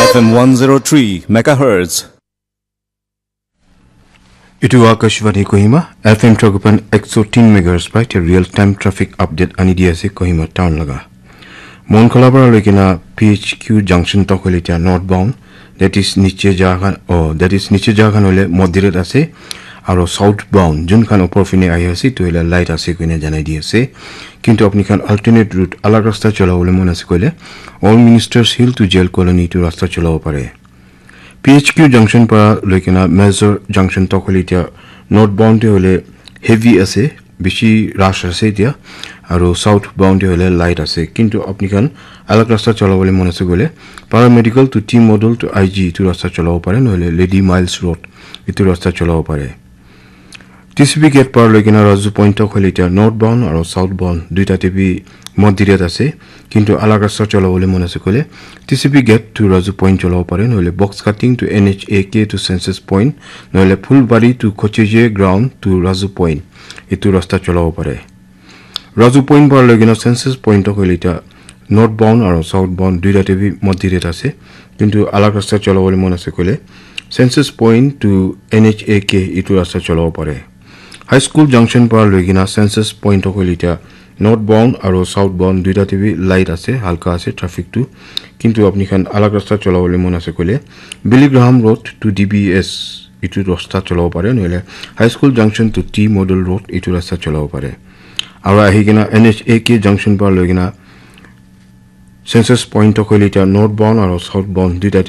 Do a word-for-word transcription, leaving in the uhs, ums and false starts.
F M one zero three megahertz. Itu Akashvani Kohima, F M Tragopan ekso tin megahertz pai te real time traffic update ani di ase Kohima town laga. Monkhola para loikena P H Q junction tok hoile tia northbound, that is niche jaga khan, oh, that is niche jaga khan hoile moderate ase, aro southbound jun khan upor fine ahi ase itu hoile light ase koina janai di ase. Kintu apni khan alternate route alag rasta chola bole mon ase koile, All Ministers Hill to Jail Colony itu rasta chola bo pare. P H Q junction para loikena Major junction tok hoile tia northbound te hoile heavy ase, bishi rush ase tia, aro southbound te hoile light ase. Kintu apni khan alag rasta chola bole mon ase koile, Paramedical to T Model to I G itu rasta chola bo pare, nohole Lady Miles Road itu rasta chola bo pare. T C B gate par loikena Raju Point tok hoile tia northbound aro southbound duita te bi moderate ase, kintu alag rasta chola bole mon ase koile T C B gate to Raju Point chola bo pare, nohole box cutting to N H A K to Census Point, nohole Phulbari to Kocheje ground to Raju Point itu rasta chola bo pare. Raju Point par loikena Census Point tok hoile tia northbound aro southbound duita te bi moderate ase, kintu alag rasta chola bole mon ase koile Census Point to N H A K itu rasta chola bo pare. High School junction para loikena Census Point tok hoile tia northbound aro southbound duita te bi light ase, halka ase traffic tu, kintu apni khan alag rasta chola bole mon ase koile Billy Graham Road to D B S itu rasta chola bo pare, nohole High School junction to T Model Road itu rasta chola bo pare. Aro ahi kena N H A K junction para loikena Census Point tok hoile tia northbound aro southbound duita te